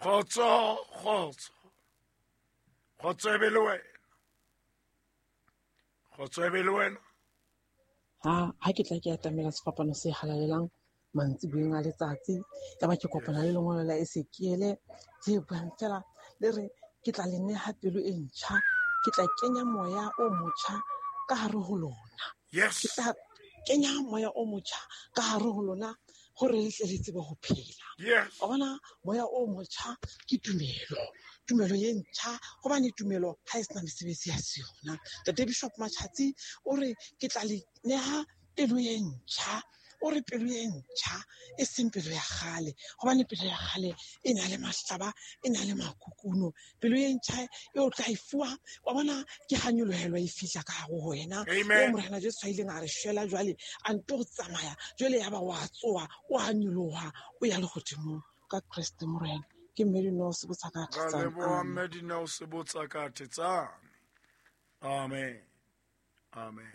Kgotso, kgotso. Kgotso e be le wena. Kgotso e be le wena. Ha ha ke tla ke atamela sefapano se halalelang mantsiboeng a letsatsi ya ba ke kopana le lengolo la Esekiele le buang fela le re ke tla le neha pelo e ntjha ke tla kenya moya o motjha ka hare ho lona Yes. Ke tla kenya moya o motjha ka hare ho lona gore le tle le tsebe go phela. Yes. Wa bona moya o motjha ke tumelo tumelo ye ntjha gobane tumelo ga e sena mesebetsi ya se yona. Tate Bishop Machatsi o re ke tla le neha pelo ye ntjha o re pelo ye ntjha e seng pelo ya kgale gobane pelo ya kgale e na le mahlaba e na le makukuno pelo ye ntjha e o tla e fuwa wa bona ke ga nyolohelwa e fihla ka gare go wena Amen. eo morena Jesu a ileng a re shwela jwale a nto go tsamaya jwale ya ba wa tsoa o a nyoloha o ya legodimong ka Kreste Morena ke mme Dineo Sebotsa ka Ra Thetsane. leboha Amen. Mme Dineo Sebotsa ka Thetsane. Amen. Amen.